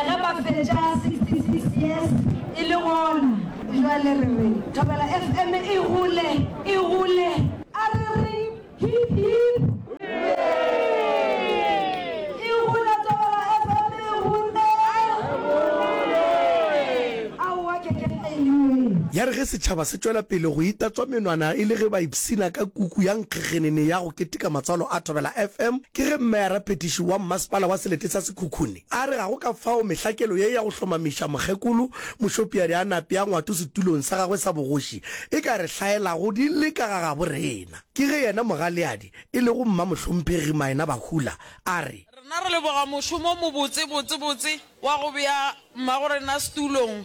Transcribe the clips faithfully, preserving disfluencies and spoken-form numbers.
Ge ba fetša sixty six years e le gona. Jwale re re Thobela F M e gole, e gole. A re reng hip hip. E gole Thobela F M e gole. Aowa ke ke anyway. Ya re ge setšhaba se tšwela pele go itatswa menwana e le ge ba ipshina ka kuku ya nkgekgenene ya go keteka matswalo a Thobela F M, ke ge Meyara-phetiši wa Mmasepala wa Selete sa Sekhukhune a re ga go ka fao mehlakelo ye ya go hlomamiša mokgekolo Mošopiadi a nape a ngwato setulong sa gagwe sa bogoši e ka re hlaelago di le ka ga gabo rena. Ke ge yena Mogaleadi, e lego Mmamohlomphegi Maena Bahula, a re. Rena re leboga mošomo o mobotse botse botse wa go bea mmagorena setulong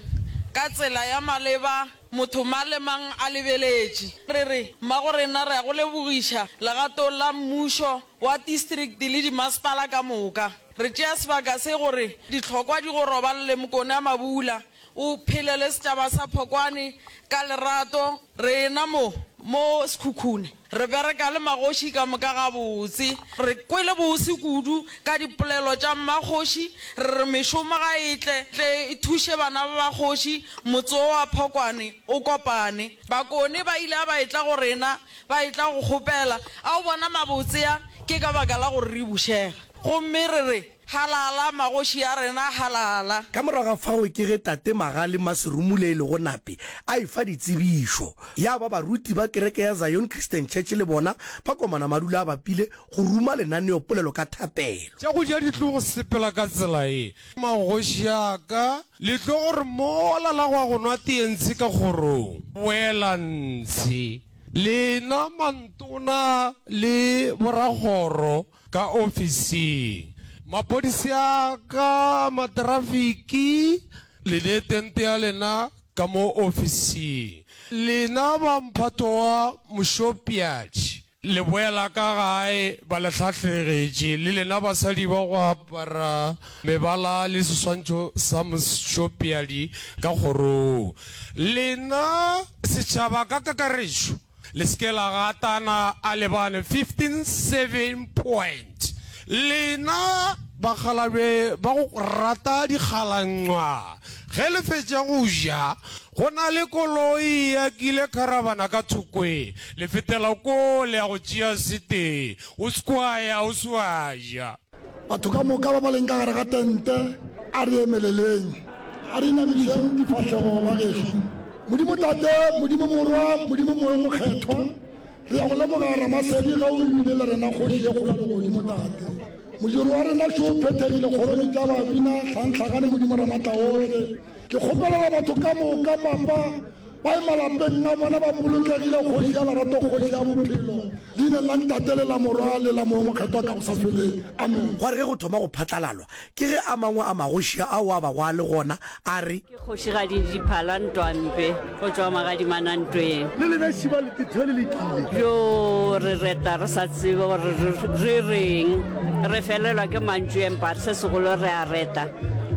ka tsela ya maleba motho mang le mang a lebeletše. Re re mmagorena re a go lebogiša legatong la mmušo wa distrikti le dimasepala ka moka. Re tšea sebaka se gore dihlokwa di go roballe Mokone a Mabula, o phele le setšaba sa Phokwane ka lerato. Rena mo mo Sekhukhune re bereka le magoši ka moka gabotse. Re kwele bose kudu ka dipolelo tša mmakgoši, re re mešomo ga e tle tle e thuše bana ba bakgoši, motse wo wa Phokwane o kopane. Bakone ba ile ba etla go rena ba etla go kgopela, a o bona mabotse a ke ka baka la gore re bušega. Gomme re re, Halala magoši a rena, halala. Ka morago ga fao ke ge Tate Magale Maserumule e lego Nape a efa ditsebišo. Ya ba baruti ba kereke ya Zion Christian Church le bona ba komana madula a bapile go ruma lenaneopolelo ka thapelo. Tša go ja di tlo go sepela ka tsela ye. Magoši a ka, le tlo gore mola la go ya go nwa tee ntshe ka kgorong, boela ntshe. Lena mantona le borakgoro ka ofising. Maphodisi a ka, matrafiki, le ne tente ya lena ka mo ofising. Lena ba mphato wa Mošopiatši, le boela ka gae ba le hlahlegetše, le lena basadi ba go apara mebala le seswantšho sa Mošopiadi ka kgorong. Lena setšhaba ka kakaretšo, le se ke la gatana a lebane fifteen seven point. Lena bakgalabje ba go rata dikgalanqwa, ge le fetša go ja, go na le koloi ya kile kharabana ka thokwe, le fetela koo le ya go tšea setee, o se ke wa ya o se wa ja. Batho ka moka ba ba leng ka gare ga tente, a re emeleleng. A re inamišeng difahlego, bagešo. Modimo Tate, Modimo Morwa, Modimo Moya wo Mokgethwa, re ya go leboga Ramasedi ge o bile le rena Kgoši ye kgolo ya Legodimo, Tate. Modiro wa rena šo o phethegile kgorong tša babina, hlanghlagane Modimo Ramatlaohle. Ke kgopelela batho ka moka, Papa, ba ye malapeng a bona ba bolokegile, Kgoši ya lerato, Kgoši ya bophelo, Leineng la Ntate le la Morwa le la Moya wo Mokgethwa ka go sa feleng. Amen. Gwa re ge go thoma go phatlalalwa, ke ge a mangwe a magoši ao a bago a le gona a re. Ke kgošigadi Diphala Ntwampe go tšwa Magadimanantweng. Le lena šiba le tethwe le lekile. Bjoo re reta re sa tsebe gore re reng, re felelwa ke mantšu empa se segolo re a reta,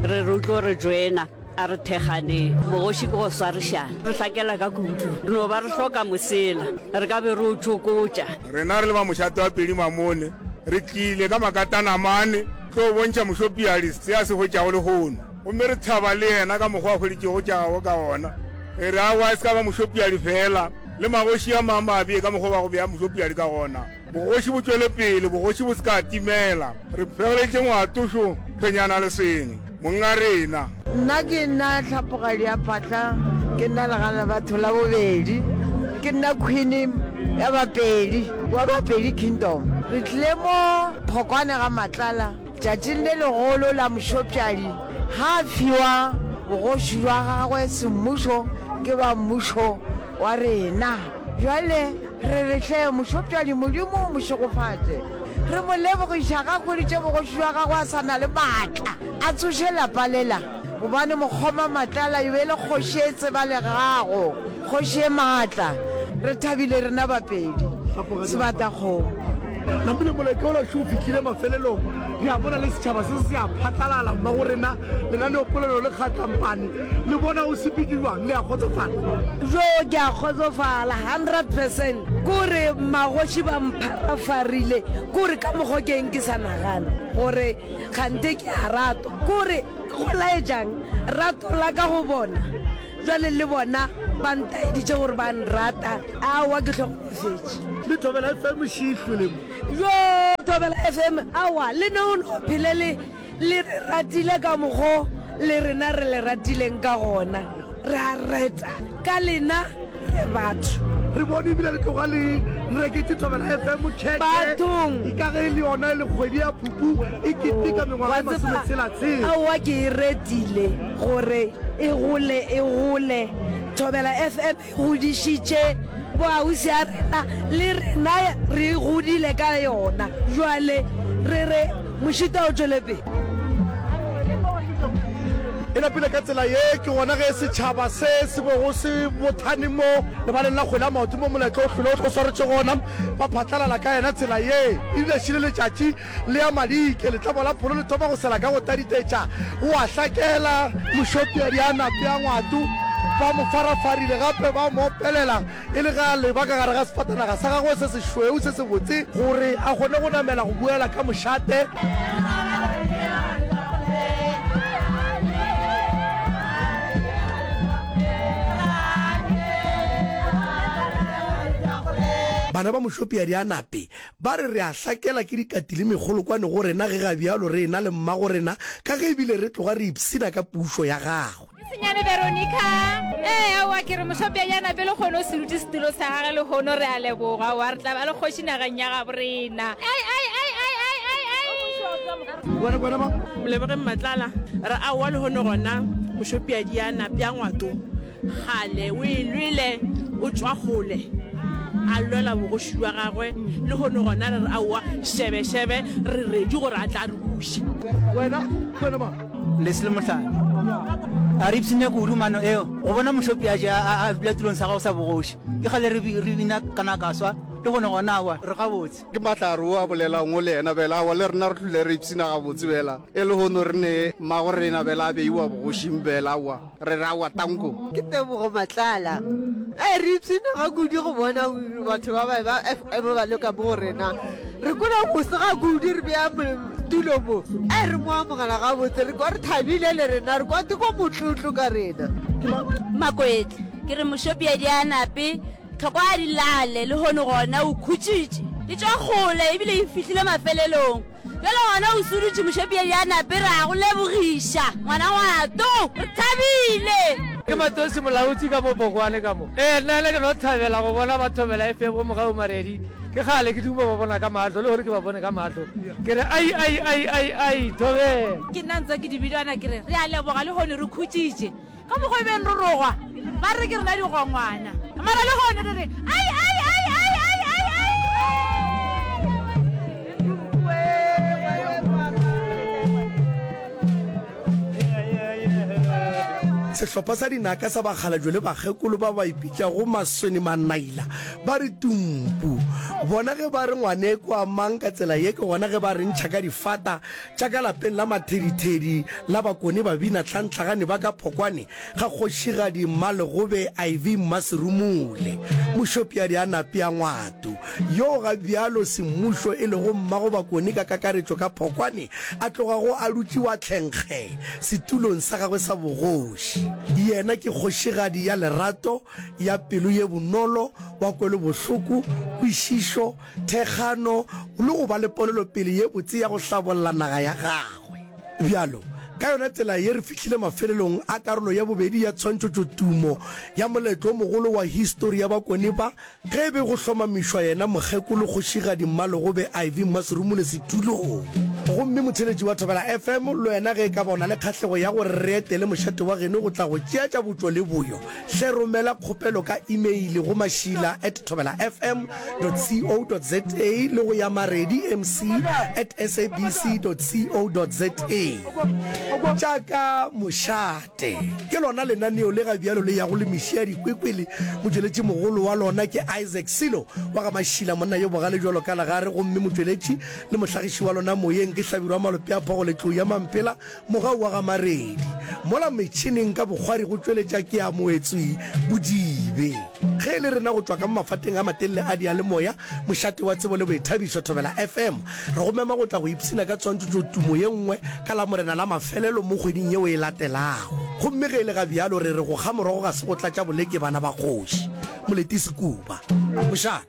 re re o tlo re joina. A re thekganeng. Bogoši ke go swarišana. Re hlakela ka kudu. Re no ba re hloka mosela. Re ka be re o tšokotša. Rena re le ba mošate wa Pedi Mamone, re tlile ka makatana mane tlo bontšha Mošopiadi se a se hwetšago lehono. Gomme re thaba le yena ka mokgwa a hweditšego tša gagwe ka gona. Re re aowa e se ka ba Mošopiadi feela, le magoši a mang ba bee ka mokgwa ba go bea Mošopiadi ka gona. Bogoši bo tšwele pele, bogoši bo se ka timela. Re fegeleditše Ngwatošo Thwenyana Leswene, monga rena. Nna ke nna Hlapogadi ya Phatla, ke nna legana batho la bobedi, ke nna Queen ya Bapedi, wa Bapedi Kingdom. Re tlile mo Phokwane ga Matlala tšatšing le legolo la Mošopšadi ga a fiwa bogoši bja gagwe semmušo ke ba mmušo wa rena. Bjale re re hle Mošopšadi Modimo o mo šegofatše. Re mo lebogiša ga hweditše bogoši bja gagwe a sa na le maatla, a tsoše lapa lela, gobane Mokgoma Matlala e be e le kgoši e tsebalegago, kgoši e maatla. Re thabile rena Bapedi. Sebatakgomo. Napile moletlo ola šo o fihlile mafelelong. Re a bona le setšhaba se se a phatlalala mmago rena, lenaneopolelo le kgatlampane. Le bona o sepetše bjang? Le a kgotsofala? Jo, ke a kgotsofala hundred percent. Kore magoši ba mpharafarile, kore ka mokgo ke eng ke sa nagana gore kganthe ke a ratwa. Kore go laetšang rato la ka go bona? Bjale le bona ba ntaeditše gore ba nrata. Aowa, ke hlogonofetše. Le Thobela F M šihlwe le mo. Joo, Thobela F M, aowa, le ne o no phele le, le re ratile ka mokgo le rena re le ratileng ka gona. Re a reta ka lena, re batho. Re bone ebile le tloga le reketše Thobela F M khekhe. Bathong. E ka ge e le yona e le kgwedi ya Phupu e keteka mengwaga e Wa tseba, masometshela-tshela. aowa ke e retile gore e gole, e gole. Thobela F M e godišitše boausi a rena, le rena re godile ka yona. Bjale re re mošito o tšwele pele. E napile ka tsela ye, ke gona ge setšhaba se se bego se bothane mo lebaleng la kgwele ya maoto mo moletlo o hlwele o swaretše gona, ba phatlalala ka yena tsela ye. Ebile šele letšatši le ya madike, letlamo la pholo le thoma go sela ka go taditetša, go a hlakela. Mošopiadi a nape a ngwato, ba mo farafarile gape ba mo opelela e le ge a leba ka gare ga sefatanaga sa gagwe se sešweu se sebotse gore a kgone go namela go boela ka mošate. Bana ba Mošopiadi a Nape ba re re a hlakela ke dikati le mekgolokwane go rena ge ga bjalo re ena le mmago rena ka ge ebile re tloga re ipshina ka pušo ya gagwe. Ke senyane Veronica. Ee, aowa, ke re Mošopiadi a Nape lehono o se dutše setulo sa gage lehono, re a leboga, aowa, re tla ba le kgoši nageng ya gabo rena. Ai, ai, ai, ai, ai, ai, ai. Wena, wena mang? Molebogeng Matlala, re aowa lehono gona Mošopiadi a Nape a Ngwato kgale o e lwele, o tšwa kgole a lwela bogoši bja gagwe, lehono gona re re aowa šebe šebe re ready gore a tla re buša. Wena, wena mang? Leslie Mohlala, A re ipshine kudu mano eo go bona Mošopiadi a, a, a dula tulong sa gagwe sa bogoši. Ke kgale re, re bina kana ka swa, lehono gona aowa re gabotse. Ke Mahlare o a bolelang o le yena bjale, aowa le rena re tlile re ipshina gabotse bjela, e lehono re ne mmago rena bjale a beiwa bogošing bjale, aowa re re aowa tanko. Ke Tebogo Matlala. Ee, re ipshina ga kudu go bona batho ba ba ba F M ba le ka mo go rena. Re kwela bose ga kudu re bea tulo mo. Ee, re mo amogela gabotse, re kwa re thabile le rena, re kwa ke kwa motlotlo ka rena. Makwetla, Ke re Mošopiadi a Nape Tlhoko a di lale, lehono gona o khutšitše. E tšwa kgole ebile e fihlile mafelelong. Bjale gona o sudutše Mošopiedi a nape re a go lebogiša ngwana ngwato. Re thabile. Ke Matosi Molaotsi ka mo Bokwane ka mo. Ee, nna le ke no thabela go bona ba Thobela F M go Mogau Maredi. Ke kgale ke duma ba bona ka mahlo, le gore ke ba bone ka mahlo. Ke re ai ai ai ai ai Thobela. Ke nna ntse ke di bidwana ke re re a leboga lehono re khutšitše. Ka mokgwa e beng re rogwa, ba re ke rena digongwana. Mara lehono re re, ai, ai, ai, ai, ai, ai, ai. Sehlopha sa dinaka sa bakgalabje le bakgekolo ba ba ipitšago Masweni Manaila ba re tumpu. Bona ge ba re ngwaneko a mang ka tsela ye ke gona ge ba re ntšha ka difata Tša ka lapeng la mathedithedi la Bakone babina tlhantlhagane ba ka Phokwane ga kgošigadi Mmalegobe Ivy Mmaserumule, Mošopiadi a Napea Ngwato, yoo ga bjalo semmušo e lego mmago Bakone ka kakaretšo ka Phokwane a tlogago a dutše wa tlhenkge setulong sa gagwe sa bogoši. Yena ke kgošigadi ya lerato, ya pelo ye bonolo, wa kwelobohloko, kwešišo, thekgano le go ba le ponelopele ye botse ya go hlabolla naga ya gagwe. Bjalo, ka yona tsela ye re fihlile mafelelong a karolo ya bobedi ya tshwantšhotšotumo ya moletlo o mogolo wa histori ya Bakone ba ge e be go hlomamišwa yena Mokgekolo Kgošigadi Mmalegobe Ivy Mmaserumule setulong. Gomme motheeletši wa Thobela F M le wena ge e ka ba o na le kgahlego ya gore re etele mošate wa geno go tla go tšea tša botšo le boyo, Hle romela kgopelo ka imeile go mašila at thobelafm dot co dot za le go ya maredi mc at sabc dot co dot za. Tša ka mošate ke lona lenaneo le ga bjalo le yago le meši ya dikwekwele. Motšweletši mogolo wa lona ke Isaac Silo wa ga Mašila, monna yo bogale bjalo ka legare, gomme motšweletši le mohlagiši wa lona moyeng ke Hlabirwa Malope a Phogo Letlou ya Mampela, Mogau wa ga Maredi. Mola metšhineng ka bokgwari go tšweletša ke ya Moetswi Bodibe. Ge e le rena go tšwa ka mo mafateng a matelele a diyalemoya, mošate wa tsebo le boithabišo, Thobela F M, re go mema go tla go ipshina ka tshwantšotšotumo ye nngwe ka Lamorena la mafelelo mo kgweding yeo e latelago. Gomme ge e le ga bjalo re re go kga morogo ga se go tlatša boleke bana ba kgoši. Moleti Sekuba. Mošate.